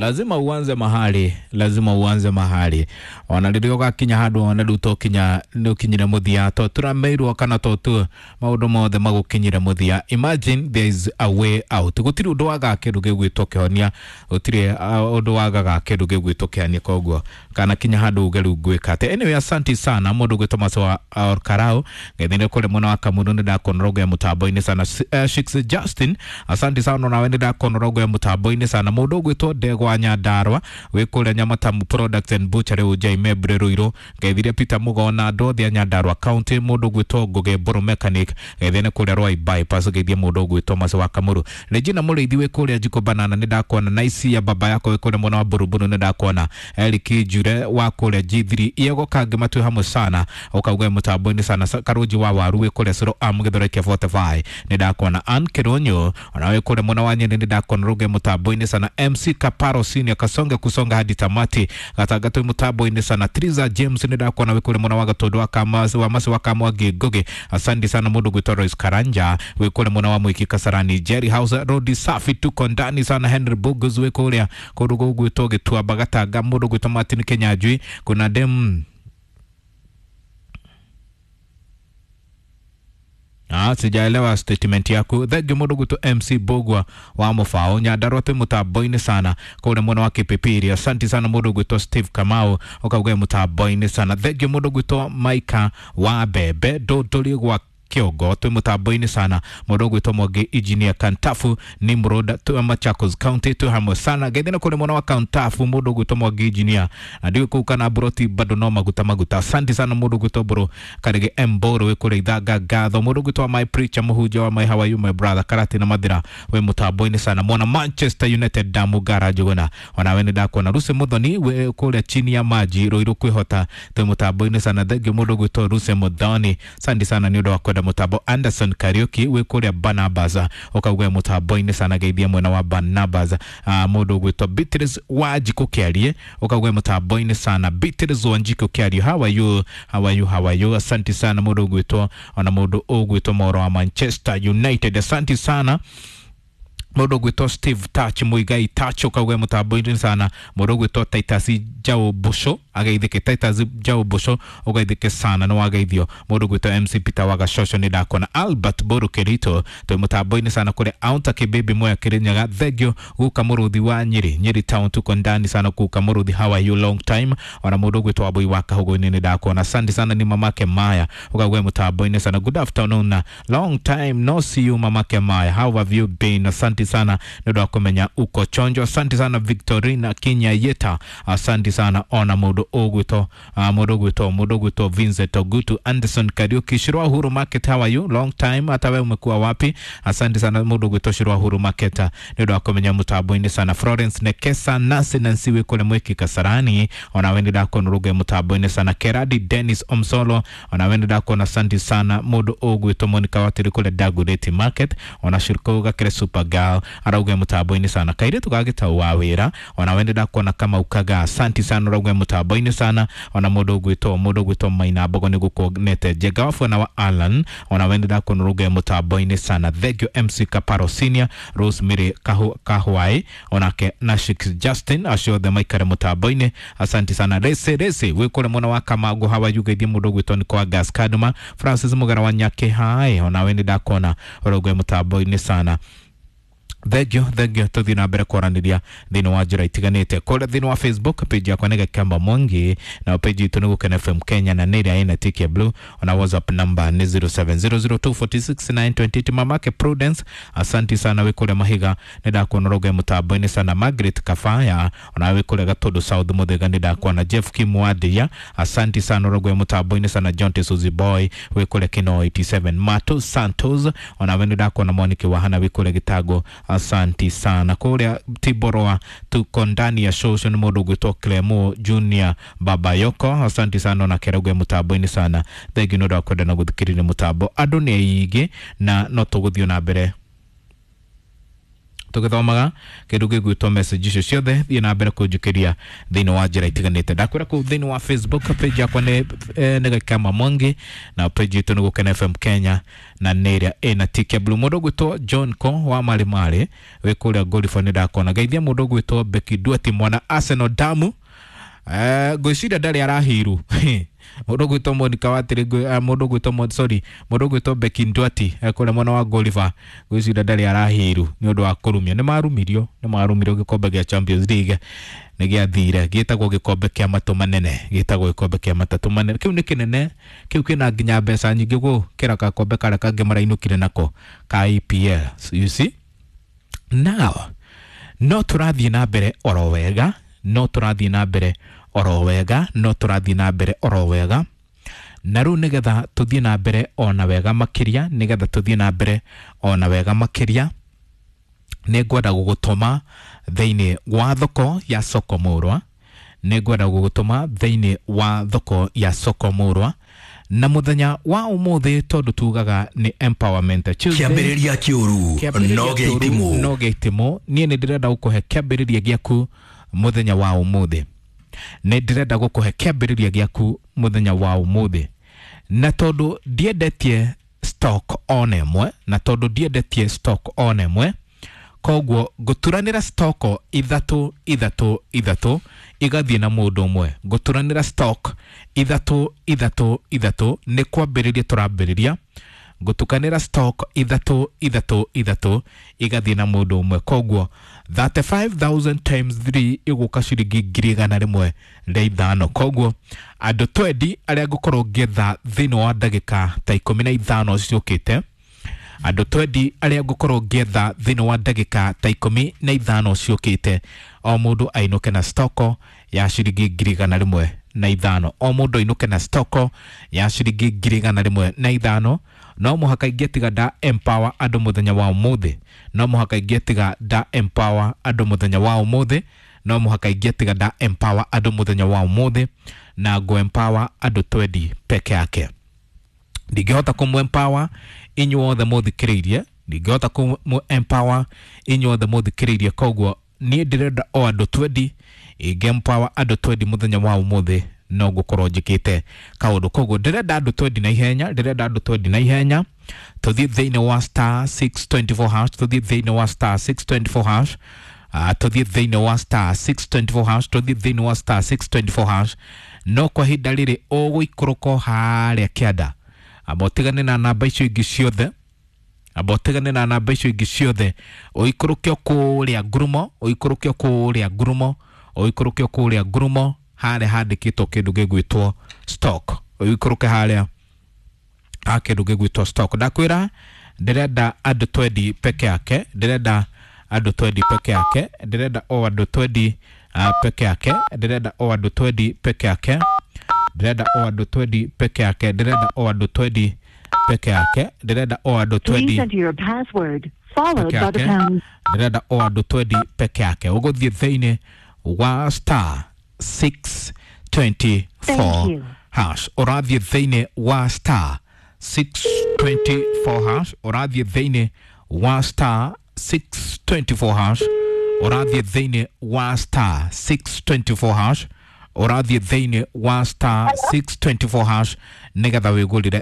Lazima uanze mahali, lazima uanze mahali. Ona rĩrĩa ũgakinya handũ one rĩu tokinya nĩ ũkinyire mũthia, to tũrameirwo kana to tu maũndũ mothe magũkinyire mũthia. Imagine there is a way out. Gũtirĩ ũndũ wagaga kĩndũ gĩgwĩtwo kĩhonia, gũtirĩ ũndũ wagaga kĩndũ gĩgwĩtwo kĩhonia. Koguo kana kinya handũ uge rĩu ngwĩka atĩa. Anyway, asanti sana mũndũ ũgwĩtwo Maso wa Karau ngethire kũrĩ mwena wa Kamuru nĩ ndakuona rogo ya mũtambo-inĩ sana. Shix Justin, asanti sana nawe nĩ ndakuona rogo ya mũtambo-inĩ sana. Mũndũ ũgwĩtwo Ndegwa Nyandarua wĩ kũrĩa Nyamatamu Products and Butchery Ujai Mebre Ruiru, ngethire Peter Mugona andũ othe a Nyandarua County. Mũndũ ũgwĩtwo Ngũgĩ Mbũrũ Mechanic, ngethire kũrĩa Rwai Bypass, ngeithie mũndũ ũgwĩtwo Maso wa Kamuru. Regina Mũrĩithi wĩ kũrĩa Jiko Banana nĩ ndakuona. Naisi ya baba yako wĩ kũrĩa mwena wa Buruburu nĩ ndakuona. Eric Njure wa kũrĩa G3 Iego Kangĩ matwĩ hamwe sana, ũkauga mũtambo-inĩ sana. Karũnji wa Waru wĩ kũrĩa Suro Am Gĩthũrai kĩa 45 nĩ ndakuona. Ann Kĩrũnyũ ona wĩ kũrĩa mwena wa Nyeri nĩ ndakuona rũge mũtambo-inĩ sana. MC Kaparo Senior Kasonge kusonga hadi tamati gatagatĩ mũtambo-inĩ sana. Triza James nĩ ndakuona wĩ kũrĩa mwena wa Gatũndũ wa Kamasi wa Masi wa Kamwangi Ngugi, asante sana. Mũndũ gwĩtwo Royce Karanja wĩ kũrĩa mwena wa Mwiki Kasarani. Jerry House Road safi tuko ndani sana. Henry Bogus wĩ kũrĩa kũndũ gũgwĩtwo Gĩtuamba Gatanga. Mũndũ gwĩtwo Martin Kenyanjui, kuna dem. Ah, sijaelewa statement yaku. Thank you mũndũ gwĩtwo MC Bogwa wa Mũbao Nyandarua twĩ mũtambo-inĩ sana kũrĩa mwena wa Kipipiri. Asante sana mũndũ gwĩtwo Steve Kamau ũkauga mũtambo-inĩ sana. Thank you mũndũ gwĩtwo Maika wa Bebe Ndũndũri gwa Kĩongo twĩ mũtambo-inĩ sana. Mũndũ ũgwĩtwo Mwangi Engineer Kantafu Nimrod twĩ Machakos County twĩ hamwe sana. Geithina kũrĩ mwena wa Kantafu mũndũ ũgwĩtwo Mwangi Engineer na ndiũĩ kũu kana Mburoti bado no maguta maguta. Asante sana mũndũ ũgwĩtwo Mbũrũ Karĩgĩ M Mbũrũ wĩ kũrĩa Ithanga ngatho. Mũndũ ũgwĩtwo my preacher mũhunjia wa my how are you my brother Karati na Mathira wĩ mũtambo-inĩ sana. Mwana Manchester United Damu Gara Njuguna onawe nĩ ndakuona. Ruse Muthoni wĩ kũrĩa chini ya maji Ruiru kwĩhota twĩ mũtambo-inĩ sana. Thank you mũndũ ũgwĩtwo Ruse Muthoni, asante sana nĩ ũndũ wa kwenda mũtambo. Anderson Kariuki wĩ kũrĩa Barnabas ũkauga mũtambo-inĩ sana, geithia mwena wa Barnabas. Mũndũ ũgwĩtwo Beatrice Wanjikũ Kĩarie ũkauga mũtambo-inĩ sana. Beatrice Wanjikũ Kĩarie, how are you, how are you, how are you? Asante sana mũndũ ũgwĩtwo ona mũndũ ũgwĩtwo Moro wa Manchester United, asante sana. Mũndũ ũgwĩtwo Steve Touch Muigai Touch ũkauga mũtambo-inĩ sana. Mũndũ ũgwĩtwo Titus Jao Busho ageithĩke, Titus Jao Busho ũgeithĩke sana nĩ wageithio. Mũndũ ũgwĩtwo MC Peter Wagacoco nĩ ndakuona. Albert Boru Kerito twĩ mũtambo-inĩ sana kũrĩa Aunta Kĩbĩbĩ Moya Kĩrĩnyaga, thank you. Guka Mũrũthi wa Nyeri, Nyeri town tuko ndani sana. Guka Mũrũthi, how are you, long time. Ona mũndũ ũgwĩtwo Wambui wa Kahũgũ-inĩ nĩ ndakuona, asante sana. Ni mamake Maya ũkauga mũtambo-inĩ sana. Good afternoon, long time no see you mamake Maya, how have you been? Asante sana nĩ ũndũ wa kũmenya uko chonjo. Asante sana Victorina Kinya Yeta, asante sana. Ona mũndũ ũgwĩtwo mũndũ ũgwĩtwo Vincent Ogutu, Anderson Kariuki, Shirwa Uhuru Market, how are you, long time, hata wewe umekuwa wapi? Asante sana mũndũ ũgwĩtwo Shirwa Uhuru Market nĩ ũndũ wa kũmenya mũtambo-inĩ sana. Florence Nekesa Nancy Nancy wĩ kũrĩa Mwiki Kasarani, ona we nĩ ndakuona rũge mũtambo-inĩ sana. Keradi Dennis Omsolo, ona we nĩ ndakuona, asante sana. Mũndũ ũgwĩtwo Monica Watiri kũrĩa Dagoretti Market, ona Shirko Gakere Super Girl arauga mũtambo-inĩ sana. Kairĩtu ga gĩtau wa wĩra, ona we nĩ ndakuona kama ukaga, asante sana ũrauga mũtambo-inĩ sana. Ona mũndũ ũgwĩtwo Maina Mbogo nĩ gũkuonete. Njenga wa Bwana wa Alan, ona we nĩ ndakuona ũrauga mũtambo-inĩ sana. Thank you MC Kaparo Senior, Rosemary Kahwai onake na Shix Justin, acio othe maikare mũtambo-inĩ, asante sana. Rese Rese wĩ kũrĩa mwena wa Kamango hawa yugeithie mũndũ ũgwĩtwo nĩ kwa Gas Kaduma. Francis Mugara wa Nyake hai, ona we nĩ ndakuona ũrauga mũtambo-inĩ sana. Thank you, thank you. Tuthiĩ na mbere kwaranĩria thĩinĩ wa njĩra itiganĩte kũrĩa thĩinĩ wa Facebook page yakwa nĩ Gakamba Mwangi, na page itũ nĩ Gũkena FM Kenya na nĩ ĩrĩa ĩna tick ya blue. Ona WhatsApp number nĩ 0700246928. Mamake Prudence, asanti sana wĩ kũrĩa Mahiga nĩ ndakuona ũrauga mũtambo-inĩ sana. Margaret Kafaya ona wĩ kũrĩa Gatũndũ South Mũthĩga nĩ ndakuona. Jeff Kimwandia, asanti sana ũrauga mũtambo-inĩ sana. John Suzy Boy wĩ kũrĩa Kino 87. Mato Santos ona we nĩ ndakuona. Mwaniki wa Hana wĩ kũrĩa Gĩtango, asanti sana. Kũrĩa Tiborwa tuko ndani ya show, ũcio nĩ mũndũ ũgwĩtwo Clemo Junior Babayoko, asanti sana ona kerauge mũtambo-inĩ sana. Thank you nĩ ũndũ wa kwenda na gũthikĩrĩria mũtambo. Andũ nĩ aingĩ na no tũgũthiĩ na mbere. Tũgĩthomaga kĩndũ gĩgwĩtwo message icio ciothe, thiĩ na mbere kũnjũkĩria thĩinĩ wa njĩra itiganĩte. Ndakwĩra kũu thĩinĩ wa Facebook page yakwa nĩ nĩ Gakama Mwangi, na page itũ nĩ Gũkena FM Kenya, na nĩ ĩrĩa ĩna tick ya blue. Mũndũ ũgwĩtwo John Ko wa Marĩ Marĩ wĩ kũrĩa Ngoribũ, nĩ ndakona. Geithia mũndũ ũgwĩtwo Becky Duati, mwana Arsenal damu. Ngwĩciria ndarĩ arahiru. Mũndũ ũgwĩtwo Monica Watiri, mũndũ ũgwĩtwo, sorry, mũndũ ũgwĩtwo Becky Ndwati kũrĩa mwena wa Goliver, ngwĩciria ndarĩ arahiru nĩ ũndũ wa kũrumio. Nĩ marumirio, nĩ marumirio. Gĩkombe gĩa Champions League nĩ gĩathire, gĩtagwo gĩkombe kĩa matũ manene, gĩtagwo gĩkombe kĩa matatũ manene. Kĩu nĩ kĩnene, kĩu kĩna nginya mbeca nyingĩ gũkĩra gakombe karĩa kangĩ marainũkire nako ka EPL. So you see now, no tũrathiĩ na mbere oro wega, no tũrathiĩ na mbere oro wega, no tũrathiĩ na mbere oro wega. Na rĩu nĩgetha tũthiĩ na mbere ona wega makĩria, nĩgetha tũthiĩ na mbere ona wega makĩria, nĩ ngwenda gũgũtũma thĩinĩ wa thoko ya Soko Mũrwa. Nĩ ngwenda gũgũtũma thĩinĩ wa thoko ya Soko Mũrwa na mũthenya wa ũmũthĩ, tondũ tugaga nĩ Empowerment Tuesday. Kĩambĩrĩria kĩũru no gĩa itimũ. No gĩa itimũ. Niĩ nĩ ndĩrenda gũkũhe kĩambĩrĩria gĩaku mũthenya wa ũmũthĩ. Nĩ ndĩrenda gũkũhe kĩambĩrĩria gĩaku mũthenya wa ũmũthĩ, na tondũ ndiendetie stock ona ĩmwe, na tondũ ndiendetie stock ona ĩmwe, koguo ngũturanĩra stock ithatũ ithatũ ithatũ igathiĩ na mũndũ ũmwe. Ngũturanĩra stock ithatũ ithatũ ithatũ, nĩ kwambĩrĩria tũrambĩrĩria. Ngũtukanĩra stock ithatũ ithatũ ithatũ igathiĩ na mũndũ ũmwe. Koguo 35,000 times 3 ĩgũka ciringi 105,000. Koguo andũ 20 arĩa ngũkorwo ngĩetha thĩinĩ wa ndagĩka ta 15 ciũkĩte, andũ 20 arĩa ngũkorwo ngĩetha thĩinĩ wa ndagĩka ta 15 ciũkĩte, o mũndũ ainũke na stoko ya ciringi 105,000. O mũndũ ainũke na stoko ya ciringi 105,000. No mũhaka ingĩtiga nda empower andũ mũthenya wa ũmũthĩ, no mũhaka ingĩtiga nda empower andũ mũthenya wa ũmũthĩ, no mũhaka ingĩtiga nda empower andũ mũthenya wa ũmũthĩ. Na ngũ empower andũ 20 peke yake. Ndingĩhota kũmũ empower inyuothe mũthikĩrĩirie, ndingĩhota kũmũ empower inyuothe mũthikĩrĩirie. Koguo niĩ ndĩrenda o andũ 20. Ingĩ empower andũ 20 mũthenya wa ũmũthĩ, no ngũkorwo njĩkĩte kaũndũ. Koguo ndĩrenda andũ 20 na ihenya, ndĩrenda andũ 20 na ihenya. Tũthiĩ thĩinĩ wa star 624 hash, tũthiĩ thĩinĩ wa star 624 hash, tũthiĩ thĩinĩ wa star 624 hash, tũthiĩ thĩinĩ wa star 624 hash. No kwa ihinda rĩrĩ ũgũikũrũka harĩa kĩanda, amba ũtigane na namba icio ingĩ ciothe, amba ũtigane na namba icio ingĩ ciothe, ũikũrũke kũrĩa ngurumo, ũikũrũke kũrĩa ngurumo, ũikũrũke kũrĩa ngurumo harĩa handĩkĩtwo kĩndũ gĩgwĩtwo stock, ũikũrũke harĩa ha kĩndũ gĩgwĩtwo stock. Ndakwĩra ndĩrenda andũ 20 peke yake, ndĩrenda andũ 20 peke yake, ndĩrenda o andũ 20 peke yake, ndĩrenda o andũ 20 peke yake, ndĩrenda o andũ 20 peke yake, ndĩrenda o andũ 20 peke yake, ndĩrenda o andũ Please 20 enter your password, followed peke by the yake, pound. Ndĩrenda o andũ 20 peke yake. Ũgũthiĩ thĩinĩ wa star Thank 624 you. hash, ũrathiĩ thĩinĩ wa star 624 hash, ũrathiĩ thĩinĩ wa star 624 hash, ũrathiĩ thĩinĩ wa star 624 hash, ũrathiĩ thĩinĩ wa star 624 hash, nĩgetha wĩgũrĩre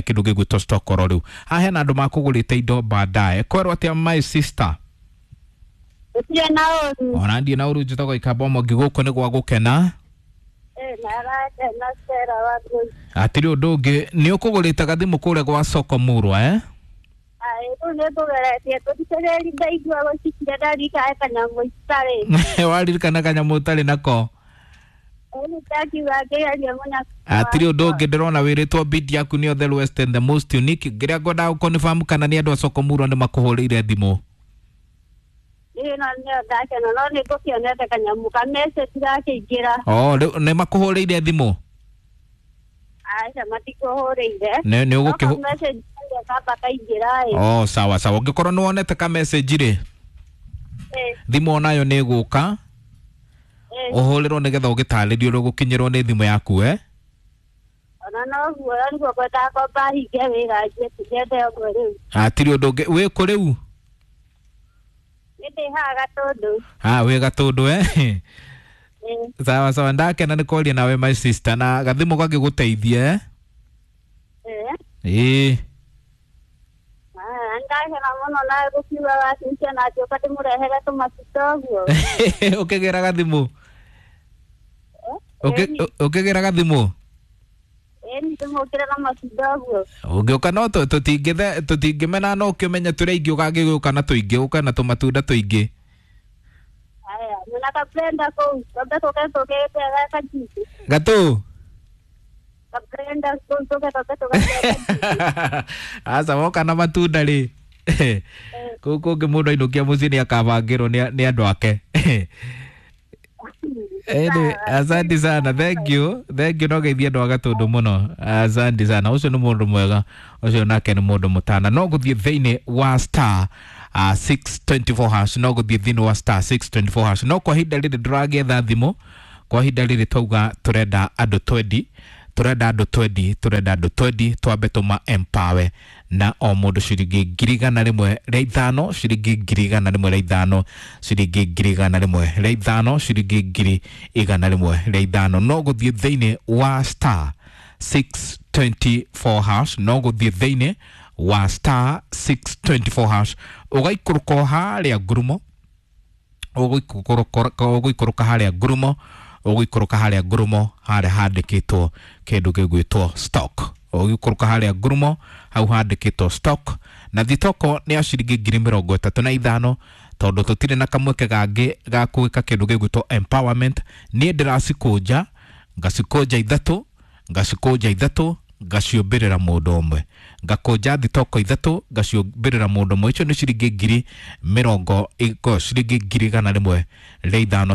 kĩndũ gĩgwĩtwo stock oro rĩu. Haha hena andũ makũgũrĩte indo baadaye. Kwerwo atĩa, my sister? Gũtirĩ na ũru. Ona ndiĩ na ũru, njĩtagwo Ikamba Mwangi, gũkũ nĩ gwa gũkena. Na arakena Stella wa Ngũi. Hatirĩ ũndũ ũngĩ, nĩ ũkũgũrĩte gathimũ kũrĩa gwa Soko Mũrwa, eh? Ai, rĩu nĩ ngũgeretie tũthikĩrĩria, ndaigua gũcikire ndarikae kanyamũ itarĩ. Waririkana kanyamũ ũtarĩ nako. Rĩu ndakiuga ngĩgerie mũno. Hatirĩ ũndũ ũngĩ, ndĩrona wĩrĩtwo bid yaku nĩ the West and the most unique. Ngĩrĩa ngwendaga gũconfirm kana nĩ andũ a Soko Mũrwa nĩ makũhũrĩire thimũ. Ĩno nĩyo ndakena, no nĩ ngũkĩonete kanyamũ ka message gakĩingĩra. Oh, rĩu nĩ makũhũrĩire thimũ? Aca, matikũhũrĩire. Nĩ No ũgũkĩhũ ka message karĩa kamba kaingĩra ĩ. Oh, sawa sawa. Ũngĩkorwo nĩ wonete ka message rĩ, thimũ onayo nĩ ĩgũka, ũhũrĩrwo nĩgetha ũgĩtarĩrio ũrĩa ũgũkinyĩrwo nĩ thimũ yaku, eh? Ona noguo nĩguo ngwendaga kwamba hinge wĩra njiĩ tũgĩethe ũguo rĩu. Hatirĩ ũndũ ũngĩ. Wĩ kũ rĩu? Nĩ ndĩ haha Gatũndũ. Ah, wĩ Gatũndũ eh? Sawa sawa, ndakena nĩ kwaria nawe my sister, na gathimũ gagĩgũteithie eh? Ĩĩ. Ndakena mũno na gũkiuga wacicia na ngĩũka ndĩmũrehere tũmatunda ũguo. Ũkĩgĩra gathimũ? Ũkĩgĩra gathimũ? Ĩni ndĩmũkĩre na matunda ũguo. Ũngĩũka no tũtingĩmena, no ũkĩmenye tũrĩa ingĩ ũgagĩũka na tũingĩ, ũka na tũmatunda tũingĩ. Haya, mwĩna kablenda kũu, twambe tũke tũgĩte kajuici. Gatũ? Kablenda kũu tũke twambe tũgate kajuici. Aca, woka na matunda rĩ, kũu kũngĩ mũndũ ainũkia mũciĩ nĩ akabangĩrwo nĩ andũ ake. Anyway, asante sana, thank you, thank you. No geithie andũ a Gatũndũ mũno, asante sana. Ũcio nĩ mũndũ mwega, ũcio nake nĩ mũndũ mũtana. No gũthiĩ thĩinĩ wa star 624 hash, no gũthiĩ thĩinĩ wa star 624 hash. No kwa ihinda rĩrĩ ndũragĩetha thimũ, kwa ihinda rĩrĩ twauga tũrenda andũ twendi, tũrenda andũ twendi, tũrenda andũ twendi, twambe tũma empower na o mũndũ ciringi 105,000, ciringi 105,000, ciringi 105,000, ciringi 105,000. No gũthiĩ thĩinĩ wa star 624 hash, no gũthiĩ thĩinĩ wa star 624 hash, ũgaikũrũka o harĩa ngurumo, ũgũikũrũka harĩa ngurumo, ũgũikũrũka harĩa ngurumo harĩa handĩkĩtwo kĩndũ gĩgwĩtwo stock, ũgĩikũrũka harĩa ngurumo hau handĩkĩtwo stock, na thitoko nĩ ya ciringi 35,000, tondũ tũtirĩ na kamweke gangĩ ga gwĩka kĩndũ gĩgwĩtwo empowerment. Niĩ ndĩracikũnja, ngacikũnja ithatũ, ngacikũnja ithatũ, ngaciũmbĩrĩra mũndũ ũmwe, ngakũnja thitoko ithatũ, ngaciũmbĩrĩra mũndũ ũmwe. Icio nĩ ciringi ngiri mĩrongo ciringi 105,000,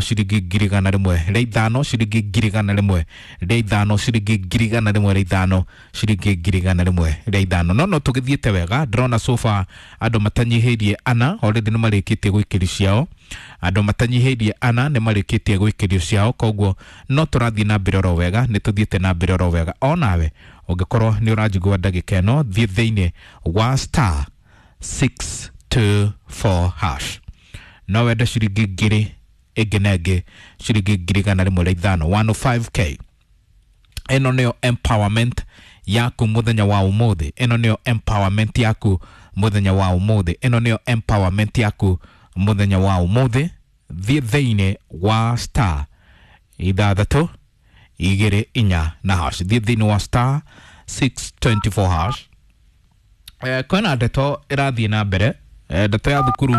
ciringi 105,000, ciringi 105,000, ciringi 105,000, ciringi 105,000. No tũgĩthiĩte wega, ndĩrona so far andũ matanyihĩirie ana already nĩ marĩkĩtie gwĩkĩrio ciao, andũ matanyihĩirie ana nĩ marĩkĩtie gwĩkĩrio ciao, koguo no tũrathiĩ na mbere oro wega, nĩ tũthiĩte na mbere oro wega. Onawe ũngĩkorwo nĩ ũranjigua ndagĩka ĩno, thiĩ thĩinĩ wa star 624 hash, no wende ciringi ngiri ĩngĩ na ĩngĩ, ciringi 105,000, 105k. Ĩno nĩyo empowerment yaku mũthenya wa ũmũthĩ, ĩno nĩyo empowerment yaku mũthenya wa ũmũthĩ, ĩno nĩyo empowerment yaku mũthenya wa ũmũthĩ. Thiĩ thĩinĩ wa star 6 2 4 na hash, thiĩ thĩinĩ wa star 624 hash. Kwĩna ndeto ĩrathiĩ na mbere, ndeto ya thukuru,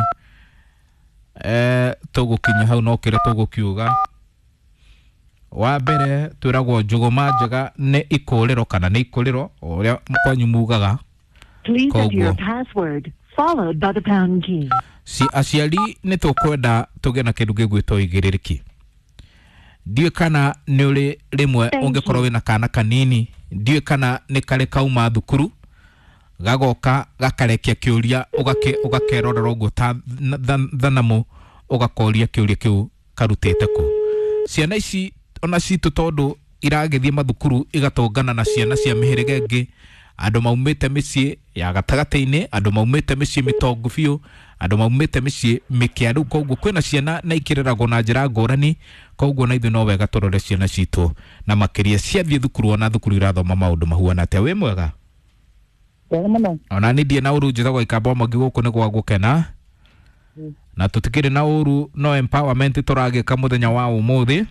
tũgũkinya hau no kĩrĩa tũgũkiuga. Wa mbere twĩragwo njũgũma njega nĩ ikũrĩro kana nĩ ikũrĩro ũrĩa kwanyu mugaga. Please enter your Koguo. password followed by the pound key. Si aciari nĩ tũkwenda tũgĩe na kĩndũ gĩgwĩtwo ũigĩrĩrĩki. Ndiũĩ kana nĩ ũrĩ rĩmwe Thank ũngĩkorwo you. wĩna kana kanini, ndiũĩ kana nĩ karĩ kauma thukuru gagoka gakarekia kĩũria, ũgakerorera ũguo ta thanamu, ũgakoria kĩũria kĩu karutĩte kũ. Ciana ici ona citũ tondũ iragĩthiĩ mathukuru igatũngana na ciana cia mĩhĩrĩga ĩngĩ, andũ maumĩte mĩciĩ ya gatagatĩ-inĩ, andũ maumĩte mĩciĩ mĩtongu biũ, andũ maumĩte mĩciĩ mĩkĩaru, koguo kwĩna ciana na ikĩreragwo na njĩra ngũrani, koguo na ithuĩ no wega tũrore ciana citũ na makĩria ciathiĩ thukuru, ona thukuru irathoma maũndũ mahuana atĩa. Wĩ mwega? Wega mũno. Ona niĩ ndirĩ na ũru, njĩtagwo Ikamba Mwangi, gũkũ nĩ gwa gũkena na tũtikĩrĩ na ũru, no empowerment tũragĩka mũthenya wa ũmũthĩ.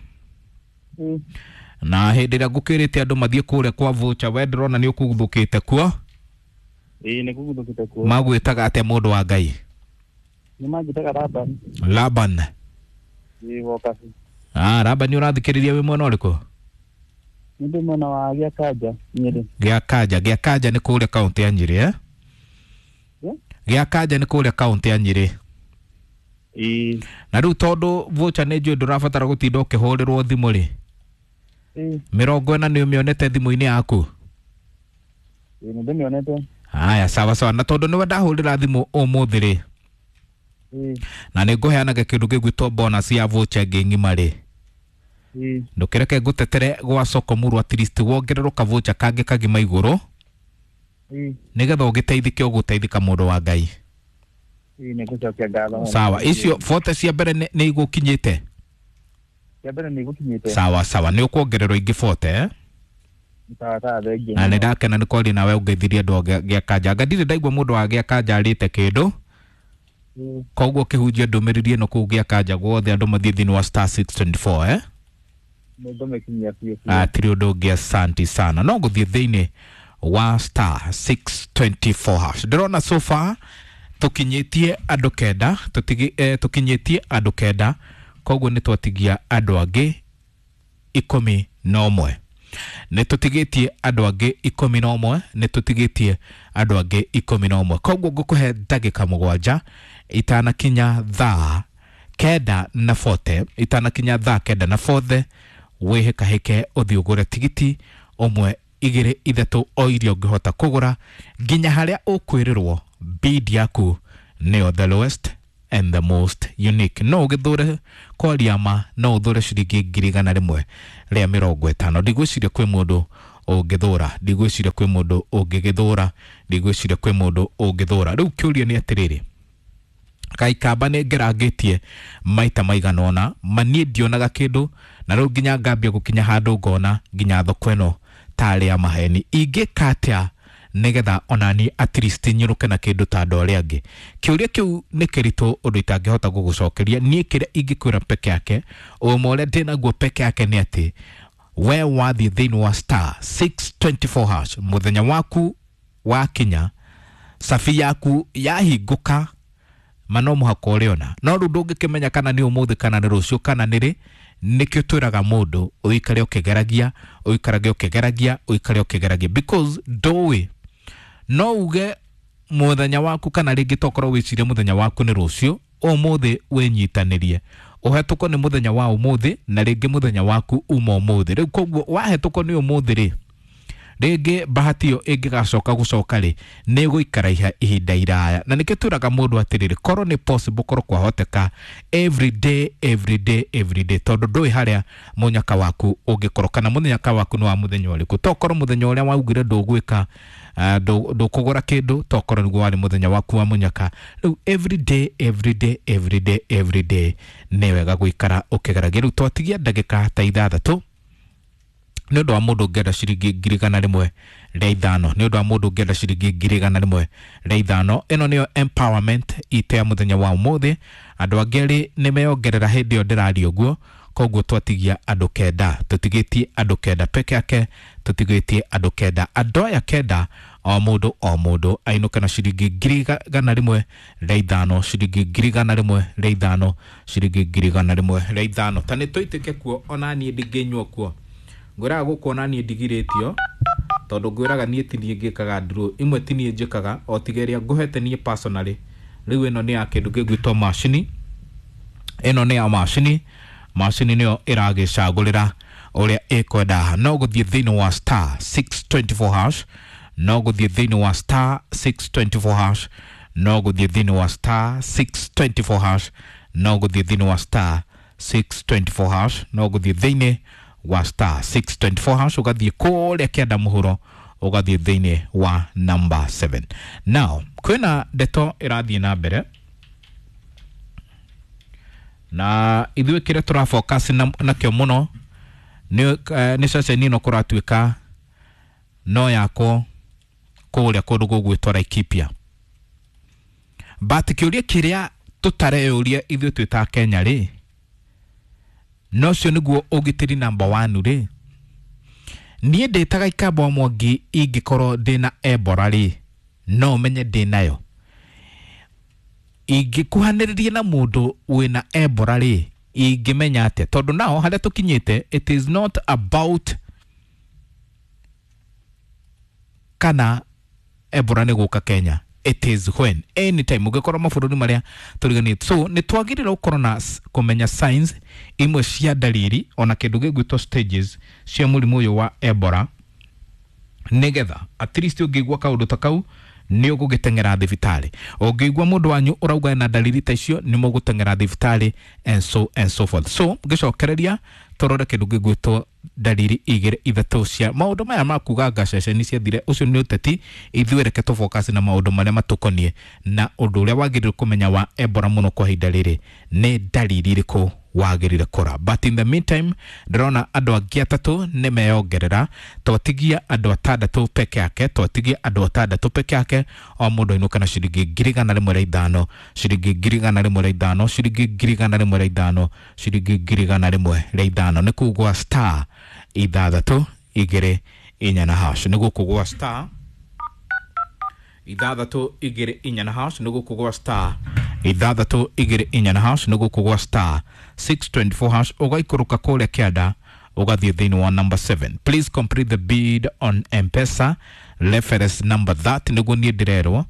Na hĩndĩ ĩrĩa ngũkĩrĩte andũ mathiĩ kũrĩa kwa voucher, we ndĩrona nĩ ũkuthũkĩte kuo. Ĩĩ nĩ kuguthũkĩte kuo. Magwĩtaga atĩa mũndũ wa Ngai? Nĩ manjĩtaga Laban. Laban. Ĩĩ Wokabi. Ah, Laban, ũrathikĩrĩria wĩ mwena ũrĩkũ? Nĩ ndĩ mwena wa Gĩakanja Nyĩrĩ. Gĩakanja, Gĩakanja nĩ kũrĩa kaũntĩ ya Nyĩrĩ eh? Gĩakanja nĩ kũrĩa kaũntĩ ya Nyĩrĩ. Ĩĩ. Na rĩu tondũ voucher nĩ njũĩ ndũrabatara gũtinda ũkĩhũrĩrwo thimũ rĩ, Ĩĩ. 40 nĩ ũmĩonete thimũ-inĩ yaku? Ĩĩ nĩ ndĩmĩonete. Haya, sawa sawa. Na tondũ nĩwe ndahũrĩra thimũ ũmũthĩ rĩ, Ĩĩ. na nĩ ngũheanaga kĩndũ gĩgwĩtwo bonus ya voucher ĩngĩ ng'ima rĩ, Ĩĩ. ndũkĩreke ngũtetere gwa soko muru, at least wongererwo kavocha kangĩ kagima igũrũ, Ĩĩ. nĩgetha ũgĩteithĩke ũgũteithĩka mũndũ wa Ngai. Ĩĩ, nĩ ngũcokia ngatho mũno. Sawa, icio 40 cia mbere nĩ igũkinyĩte. Cia mbere nĩ igũkinyĩte. Sawa sawa, nĩ ũkuongererwo ingĩ 40, eh? Sawa sawa, thengiũ Na nĩ mũno. ndakena nĩ kwaria nawe ũngeithirie andũ a Gĩakanja. Anga ndirĩ ndaigua mũndũ wa Gĩakanja arĩte kĩndũ. Koguo kĩhunjia ndũmĩrĩri ĩno kũu Gĩakanja guothe, andũ mathiĩ thĩinĩ wa star 624, eh? Nĩ ngũmĩkinyia biũ biũ. Atirĩ ũndũ ũngĩ, asanti sana. No gũthiĩ thĩinĩ wa star 624 hash. Ndĩrona so far tũkinyĩtie andũ kenda, tũkinyĩtie andũ kenda, koguo nĩ twatigia andũ angĩ 11. Nĩ tũtigĩtie andũ angĩ 11, nĩ tũtigĩtie andũ angĩ 11. Koguo ngũkũhe ndagĩka 7 itanakinya thaa 9:40, itanakinya thaa 9:40, wĩhĩkahĩke ũthiĩ ũgũre tigiti ũmwe, igĩrĩ, ithatũ, o iria ũngĩhota kũgũra nginya harĩa ũkwĩrĩrwo bid yaku nĩyo the lowest and the most unique. No ũgĩthũre kwaria ma, no ũthũre ciringi 150,000. Ndigwĩciria kwĩ mũndũ ũngĩthũra, ndigwĩciria kwĩ mũndũ ũngĩgĩthũra, ndigwĩciria kwĩ mũndũ ũngĩthũra. Rĩu kĩũria nĩ atĩrĩrĩ, Kaikamba nĩ ngerangĩtie maita maigana ũna, ma niĩ ndionaga kĩndũ, na rĩu nginya ngambia gũkinya handũ ngona nginya thoko ĩno tarĩ ya maheni. Ingĩka atĩa nĩgetha onani at least nyũrũke na kĩndũ ta andũ arĩa angĩ? Kĩũria kĩu nĩ kĩritũ ũndũ itangĩhota gũgũcokeria. Niĩ kĩrĩa ingĩkwĩra peke yake, ũma ũrĩa ndĩnaguo peke yake nĩ atĩ we wathiĩ thĩinĩ wa star 624 hash, mũthenya waku wakinya, cabi yaku yahingũka, ma no mũhaka ũrĩona. No rĩu ndũngĩkĩmenya kana nĩ ũmũthĩ kana nĩ rũciũ kana nĩ rĩ. Nĩkĩo twĩraga mũndũ ũikare ũkĩgeragia, ũikarage ũkĩgeragia, ũikare ũkĩgeragia, because ndũĩ. No uge mũthenya waku kana rĩngĩ tokorwo wĩcirie mũthenya waku nĩ rũciũ, ũmũthĩ wĩnyitanĩrie, ũhetũkwo nĩ mũthenya wa ũmũthĩ, na rĩngĩ mũthenya waku uma ũmũthĩ. Rĩu koguo wahetũkwo nĩ ũmũthĩ rĩ, rĩngĩ bahati ĩyo ĩngĩgacoka gũcoka rĩ, nĩ ĩgũikara ihinda iraya. Na nĩkĩo twĩraga mũndũ atĩrĩrĩ, korwo nĩ possible, korwo kwahoteka, every day, every day, every day, tondũ ndũĩ harĩa mũnyaka waku ũngĩkorwo, kana mũnyaka waku nĩ wa mũthenya ũrĩkũ. Tokorwo mũthenya ũrĩa waugire ndũgwĩka, ndũkũgũra kĩndũ, tokorwo nĩguo warĩ mũthenya waku wa mũnyaka. Rĩu every day, every day, every day, every day nĩ wega gũikara ũkĩgeragia. Rĩu twatigia ndagĩka ta 6 nĩ ũndũ wa mũndũ ũngĩenda ciringi 105,000, nĩ ũndũ wa mũndũ ũngĩenda ciringi 105,000. Ĩno nĩyo empowerment itũ ya mũthenya wa ũmũthĩ. Andũ angĩ erĩ nĩ meyongerera hĩndĩ ĩyo ndĩraria ũguo, koguo twatigia andũ kenda, tũtigĩtie andũ kenda peke yake, tũtigĩtie andũ kenda. Andũ aya kenda, o mũndũ o mũndũ ainũke na ciringi 105,000, ciringi 105,000, ciringi 105,000. Ta nĩ tũitĩke kuo, ona niĩ ndingĩnyua kuo. Ngwĩraga gũkũ ona niĩ ndigirĩtio, tondũ ngwĩraga niĩ ti niĩ ngĩkaga draw imwe, ti niĩ njĩkaga, o tiga ĩrĩa ngũhete niĩ personally. Rĩu ĩno nĩ ya kĩndũ gĩgwĩtwo macini, ĩno nĩ ya macini, macini nĩyo ĩragĩcagũrĩra ũrĩa ĩkwenda. No gũthiĩ thĩinĩ wa star 624 hash, no gũthiĩ thĩinĩ wa star 624 hash, no gũthiĩ thĩinĩ wa star 624 hash, no gũthiĩ thĩinĩ wa star 624 hash, no gũthiĩ thĩinĩ wa star 624 hash, ũgathiĩ kũrĩa kĩanda mũhuro, ũgathiĩ thĩinĩ wa number 7. Now kwĩna ndeto ĩrathiĩ na mbere, na ithuĩ kĩrĩa tũrafocus nakĩo mũno nĩ ceceni ĩno kũratuĩka no yakwo kũrĩa kũndũ gũgwĩtwo Laikipia. But kĩũria kĩrĩa tũtareyũria ithuĩ twĩ ta Kenya rĩ, no ũcio nĩguo ũgitĩri number 1 rĩ, niĩ ndĩtaga Ikamba wa Mwangi ingĩkorwo ndĩna Ebola rĩ, no menye ndĩnayo. Ingĩkuhanĩrĩria na mũndũ wĩna Ebola rĩ, ingĩmenya atĩa? Tondũ nao harĩa tũkinyĩte, it is not about kana Ebola nĩ gũka Kenya, it is when, anytime ũngĩkorwo mabũrũri marĩa tũriganĩtie. So nĩ twagĩrĩirwo gũkorwo na kũmenya signs imwe cia dalili, ona kĩndũ gĩgwĩtwo stages cia mũrimũ ũyũ wa Ebola, nĩgetha at least ũngĩigua kaũndũ ta kau Nĩ ũgũgĩteng'era thibitarĩ. Ũngĩigua mũndũ wanyu ũrauga na dalili ta icio, nĩ mũgũteng'era thibitarĩ and so and so forth. So ngĩcokereria tũrore kĩndũ gĩgwĩtwo dalili igĩrĩ ithatũ cia maũndũ maya ma kuga anga ceceni ciathire. Ũcio nĩ ũteti. Ithuĩ reke tũfocus na maũndũ marĩa matũkoniĩ na ũndũ ũrĩa wagĩrĩire kũmenya wa Ebola mũno kwa ihinda rĩrĩ nĩ dalili irĩkũ wagĩrĩire kũra. But in the meantime, ndĩrona andũ angĩ atatũ nĩ meyongerera. Twatigia andũ atandatũ peke yake, twatigia andũ atandatũ peke yake. O mũndũ ainũka na ciringi 105,000, ciringi 105,000, ciringi 105,000, ciringi 105,000. Nĩ kugwa star 6 2 4 na hash. Nĩ gũkũgwa star 6 2 4 na hash. Nĩ gũkũgwa star 6 2 4 na hash. Nĩ gũkũgwa star 624 hash. Ũgaikũrũka kũrĩa kĩanda, ũgathiĩ thĩinĩ wa number 7. Please complete the bid on M-Pesa reference number that nĩguo niĩ ndĩrerwo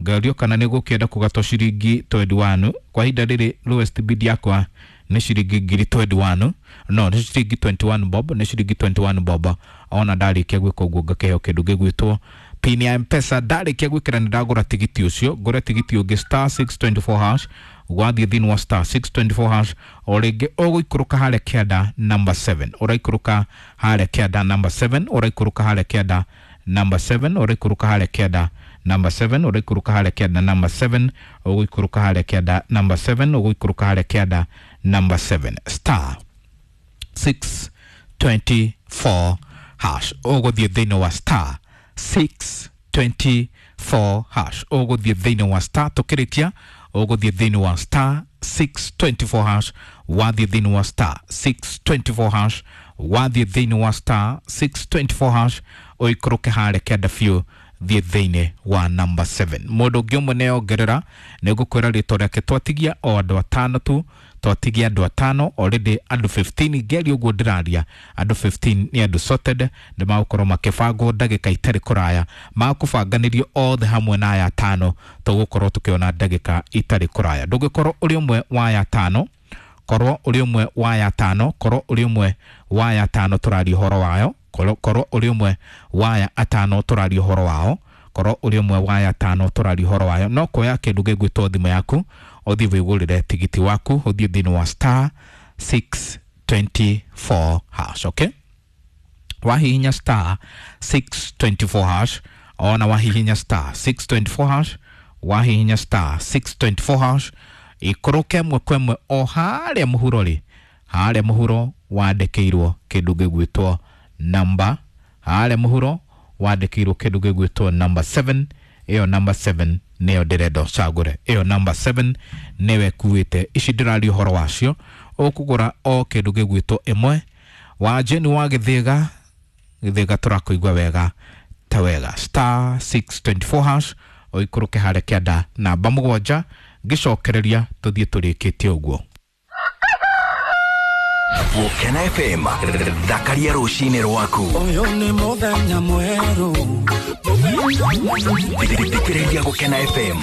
ngario kana nĩ gũkĩenda kũgatwo ciringi 21. Kwa ihinda rĩrĩ lowest bid yakwa nĩ ciringi 21,000, no nĩ ciringi 21 bob, nĩ ciringi 21 bob. Ona ndarĩkia gwĩka ũguo, ngakĩheo kĩndũ gĩgwĩtwo pin ya M-Pesa. Ndarĩkia gwĩkĩra nĩ ndagũra tigiti ũcio, ngũre tigiti ũngĩ star 624 hash. Wathiĩ thĩinĩ wa star 624 hash o rĩngĩ, ũgũikũrũka harĩa kĩanda number 7, ũraikũrũka harĩa kĩanda number 7, ũraikũrũka harĩa kĩanda number 7, ũraikũrũka harĩa kĩanda number 7, ũraikũrũka harĩa kĩanda number 7, ũgũikũrũka harĩa kĩanda number 7, ũgũikũrũka harĩa kĩanda number 7, star 624 hash. Ũgũthiĩ thĩinĩ wa star 624 hash. Ũgũthiĩ thĩinĩ wa star, tũkĩrĩkia ũgũthiĩ thĩinĩ wa star 624 hash. Wathiĩ thĩinĩ wa star 624 hash, wathiĩ thĩinĩ wa star 624 hash, ũikũrũke harĩa kĩanda biũ, thiĩ thĩinĩ wa number 7. Mũndũ ũngĩ ũmwe nĩongerera, nĩ ngũkwĩra rĩtwa rĩake. Twatigia o andũ atano tu, twatigia andũ atano already, andũ 15. Ngeri ũguo ndĩraria, andũ 15 nĩ andũ sorted, nĩ magũkorwo makĩbangwo ndagĩka itarĩ kũraya, makũbanganĩrio othe hamwe na aya atano tũgũkorwo tũkĩona ndagĩka itarĩ kũraya. Ndũngĩkorwo ũrĩ ũmwe wa aya atano, korwo ũrĩ ũmwe wa aya atano, korwo ũrĩ ũmwe wa aya atano tũraria ũhoro wayo, korwo ũrĩ ũmwe wa aya atano tũraria ũhoro wao, korwo ũrĩ ũmwe wa aya atano tũraria ũhoro wayo, no kuoya kĩndũ gĩgwĩtwo thimũ yaku, ũthiĩ wĩgũrĩre tigiti waku, ũthiĩ thĩinĩ wa star 624 hash. Okay, wahihinya star 624 hash, ona wahihinya star 624 hash, wahihinya star 624 hash, ikũrũke ĩmwe kwa ĩmwe o harĩa mũhuro rĩ, harĩa mũhuro wandĩkĩirwo kĩndũ gĩgwĩtwo namba, harĩa mũhuro wandĩkĩirwo kĩndũ gĩgwĩtwo number 7. Ĩyo number 7 nĩyo ndĩrenda ũcagũre. Ĩyo number 7 nĩwe ĩkuĩte ici ndĩraria ũhoro wacio. Ũkũgũra o kĩndũ gĩgwĩtwo ĩmwe. Wa Jane wa Gĩthĩga, Gĩthĩga tũrakũigua wega ta wega. Star 624 hash, ũikũrũke harĩa kĩanda namba 7. Ngĩcokereria tũthiĩ tũrĩkĩtie ũguo. Gũkena FM, thakaria rũcinĩ rwaku. Ũyũ nĩ mũthenya mwerũ. Thikĩrĩria Gũkena FM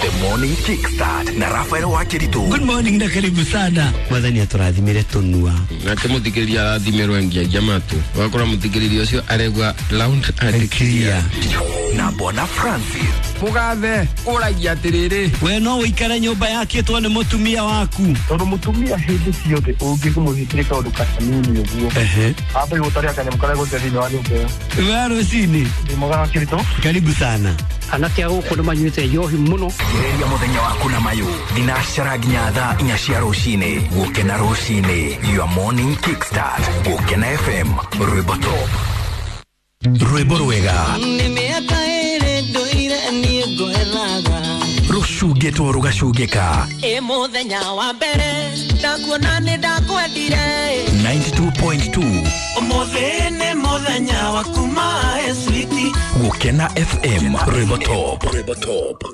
The Morning Kickstart na Rafael Wakiritu. Good morning na karibu sana. Mwathani atũrathimire tũnua. Nake mũthikĩrĩria arathimĩrwo ngiagia matũ, ũgakora mũthikĩrĩria ũcio aregua loud and clear. Na Bwana Francis. Mũgathe ũragia atĩrĩrĩ, We no ũikare nyũmba yakĩtwo nĩ mũtumia waku. Tondũ mũtumia hĩndĩ ciothe ũngĩmũhingĩre kaũndũ kanini ũguo, ambe gũtaria kanyamũ karĩa gũte thĩinĩ wa nyũmba ĩyo. We rũcinĩ. Ndĩ mwega Wakiritu. Karibu sana. Anake a gũkũ nĩ manyuĩte njohi mũno. Thikĩrĩria mũthenya waku na mayũ thinacara nginya thaa 4 cia rũcinĩ. Gũkena rũcinĩ, your morning kickstart. Gũkena FM, rwĩmbo top, rwĩmbo rwega. Nĩ mĩaka ĩrĩ ndũire niĩ ngwethaga. Rũcungĩtwo rũgacungĩka. Ĩ mũthenya wa mbere ndakuona nĩ ndakwendire. 92.2. Ũmũthĩ nĩ mũthenya wa kuma switi. Gũkena FM, rwĩmbo top, rwĩmbo top.